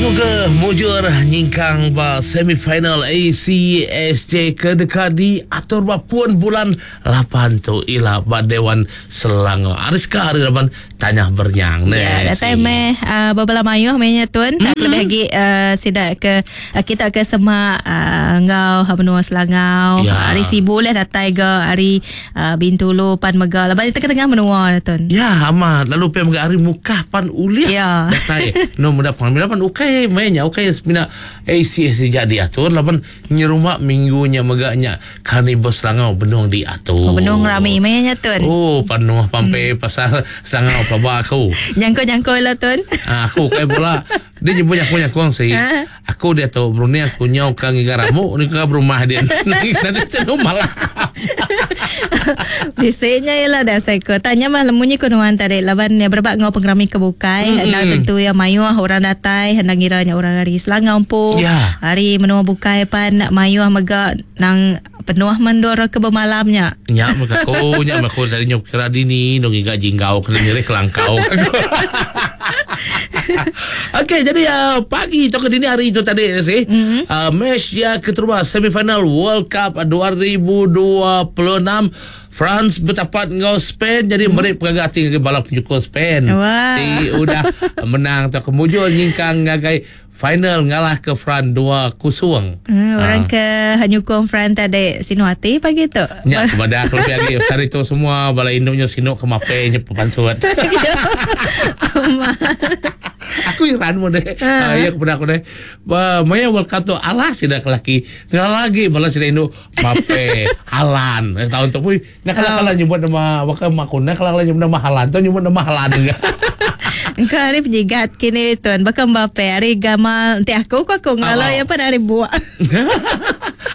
Muga-muga mujur nyingkang ba semifinal ACSJ ke deka diatur ba pun bulan lapan tu ila ba Dewan Selangor. Ariska ari raban Tanyah Bernyang ne. Ya, datai meh uh, bebela mayuh meh nya tuan. Mm-hmm. Lebih agi uh, sida ke uh, kita ke semak uh, enggau menua Selangau. Ya. Ari Sibu lah datai ga ari uh, Bintulu pan mega laban di tengah-tengah menua dah tuan. Ya amat lalu pia mega ari Mukah pan ulih ya. datai no meda pengambil laban ukai meh nya ukai semina ACS ja diatur laban nyerumba minggu nya mega nya Karnival Selangau benung diatur. Oh, benung rami meh nya tuan. Oh penuh pampe hmm. pasar Selangau pelaba aku. Nyangkau-nyangkau lah tuan. Ah, aku ukai bola. Dia nyebut nyangkau-nyangkau sih. Ha? Aku diatu berunding aku nyau ka ngiga ramu ni ka berumah din. Nadi tenu malam. Bisi nya ila dah seko. Tanya mah lemu nyi ku nuan tadi laban ya berebak enggau pengerami ke bukai mm-hmm. endang tentu ya mayuh orang datai endang ngira nya orang ari Selangau empu. Yeah. Ari menua bukai pan mayuh mega nang penuh mendur ke bemalam nya. Nya mega aku, nya mega aku tadi nyau kira dini dong ngiga jinggau kena nyerih kelangkau. Okey, jadi uh, pagi tu ke dini hari tu tadi sih. Mm-hmm. Uh, match ya keterubah semifinal World Cup 2026 France bertapat enggau Spain jadi mm. meri pengaga ati ngagai bala penyukung Spain. Wah. Ti udah menang atau kemujur nyingkang ngagai Final ngalah ke Fran 2-0. Hmm, orang ke nyukung Fran tadi sinu ati pagi tu. Nya aku madah aku lebih agi hari tu semua bala indu nya sinu ke mape nya pansut. aku iran mun deh. Ha. Ya aku pernah aku deh. Ba maya World Cup tu alah sida ke laki. Ngalah lagi bala sida indu Mape Halan. Eh, tahun tu pun nak kala kala nyebut nama baka mak aku nak kala kala nyebut nama Halan tu nyebut nama Halan juga. Engka hari penyigat kini tuan baka Mbappe hari gamal enti aku ku aku ngala Oh. ya pan hari buak.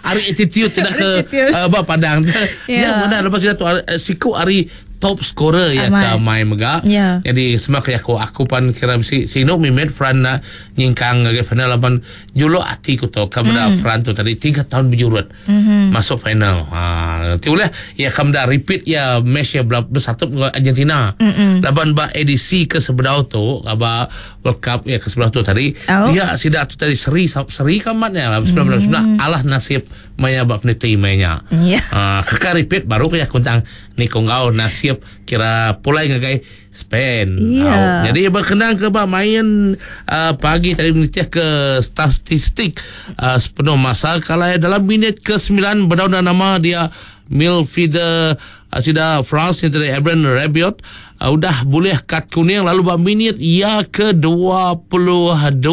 hari attitude tidak ke uh, ba padang. Ya. Ya mana lepas itu tu eh, siku hari top scorer ya ke mai mega. Ya. Jadi semua ke aku aku pan kira bisi sinu mimit Fran nak nyingkang ngagai final laban Juluk ati ku tu ka meda mm. Fran tu tadi 3 tahun berjurut mm-hmm. masuk final. Ha ti ulih ya ka meda repeat ya match ya bersatu dengan Argentina. Mm-hmm. Laban ba edisi ke sebedau tu ba World Cup ya ke sebelah tu tadi oh. dia sida tu tadi seri seri kamat nya mm. mm. alah nasib maya ba peniti maya. Yeah. Ha keka repeat baru ke ya kuntang ni ko enggau nasib kira pulai ngagai Spain. Iya. Au. Jadi berkenang ke ba main uh, pagi tadi menitih ke statistik uh, sepenuh masa kalau dalam minit ke-9 berdaun nama dia midfielder uh, sida France yang tadi Ebren Rabiot uh, udah boleh kad kuning lalu ba minit ia ke-22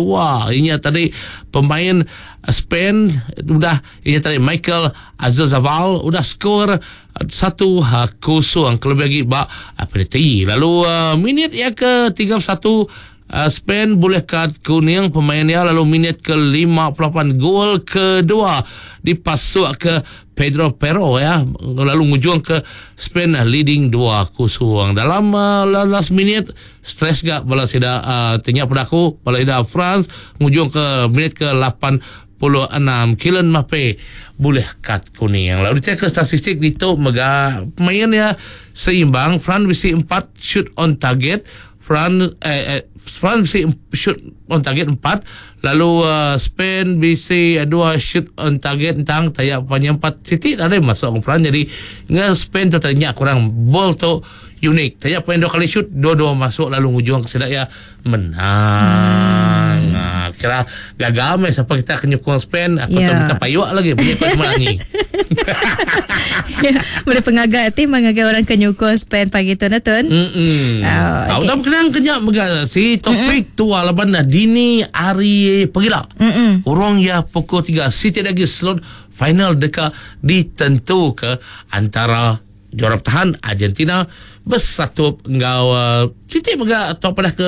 ini tadi pemain Spain udah ini tadi Michael Azazaval udah skor 1 kosong kelebih agi ba penalti. Lalu uh, minit ia ke 31 uh, Spain boleh kad kuning pemain dia lalu minit ke 58 gol kedua dipasuk ke Pedro Pero ya lalu ngujung ke Spain leading 2-0 dalam uh, last minute stress gak bala sida uh, tanya pada aku bala ida France ngujung ke minit ke 8 6 Kylian Mbappe bulih kad kuning. Lalu diteck ke statistik ditu mega pemain iya seimbang France bisi empat shoot on target France eh, eh France bisi shoot on target empat lalu uh, Spain bisi dua shoot on target entang taya panya empat siti nadai masuk France jadi nge Spain tu tadi nya kurang ball tu unik taya pemain dua kali shoot dua-dua masuk lalu ngujung ke sida iya menang. Hmm. Ha, kira gagal meh siapa kita ke nyukung Spain, aku yeah. tu minta payuk lagi punya kau melangi. Boleh pengaga ti mengagai orang ke nyukung Spain pagi tu na tun. Hmm. Oh, okay. Udah berkenang kenya mega si topik mm-hmm. tua laban dini hari pegila. Mm-hmm. Orang ya pukul 3 si tidak lagi slot final deka ditentu ke antara Juara bertahan Argentina besatup enggau uh, siti mega atau padah ke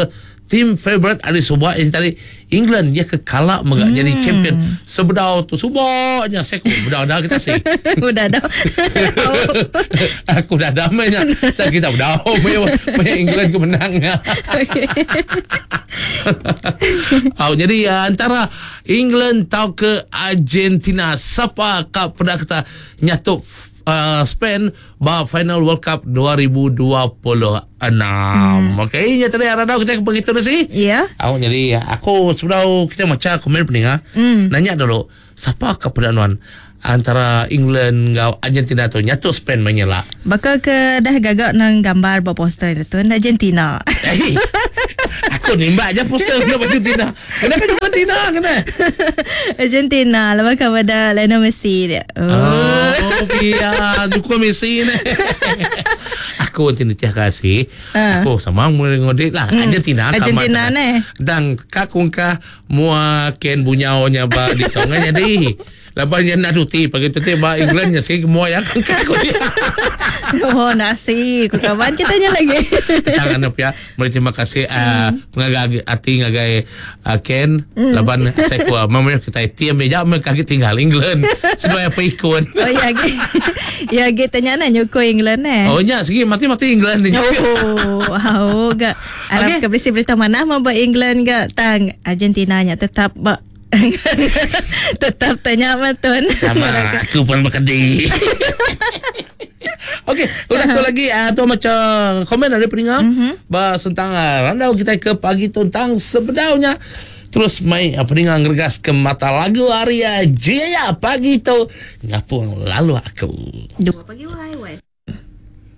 team favorite ari suba yang tadi England dia ke kala mega hmm. jadi champion sebedau tu suba nya saya ku bedau dah kita si udah dah aku dah dah nya tak kita bedau punya punya England ke menang nya oh, jadi uh, antara England tau ke Argentina siapa kau pernah kata nyatup. uh, Spain ba final World Cup 2026. Hmm. Okey, nya tadi randau kita begitu dah sih. Ya. Aku jadi aku sebelum kita maca komen peninga, Hmm. nanya dulu siapa ke pedanuan antara England ngau Argentina tu nyatu Spain menyela. Baka ke dah gagak nang gambar ba poster tu Argentina. Eh, aku nimbak aja poster kena Argentina. Kenapa jumpa Argentina kena? Argentina lepas kepada Lionel Messi dia. Oh, iya, dukung Messi ni. aku nanti nitiah kasih. Ah. Aku sama mulai ngodik lah. Argentina. Argentina ni. Dan kakungkah mua ken bunyaunya ba di tongan jadi. Lepas nya nak ruti pagi tu ba England nya sih mua ya kan aku dia. Oh nasi ku kawan kita nya lagi. Tangan apa ya. Meri terima kasih uh, pengagai ati ngagai uh, Ken laban saya ku mama kita tiam ya me kaki tinggal England. Seduai apa ikut. Oh ya ge. Ya ge tanya nak nyuko England eh. Oh nya segi mati-mati England ni. Oh, oh gak. Arab Okey. ke berisi berita mana mau buat England gak tang Argentina nya tetap ba tetap tanya matun. Sama aku pun berkedih. Okey, udah tu lagi uh, tu macam komen dari pendengar mm-hmm. bah, tentang uh, randau kita ke pagi tentang sebedaunya. Terus mai uh, pendengar ngeregas ke mata lagu Arya Jaya pagi tu ngapung lalu aku. Dua pagi wai wai.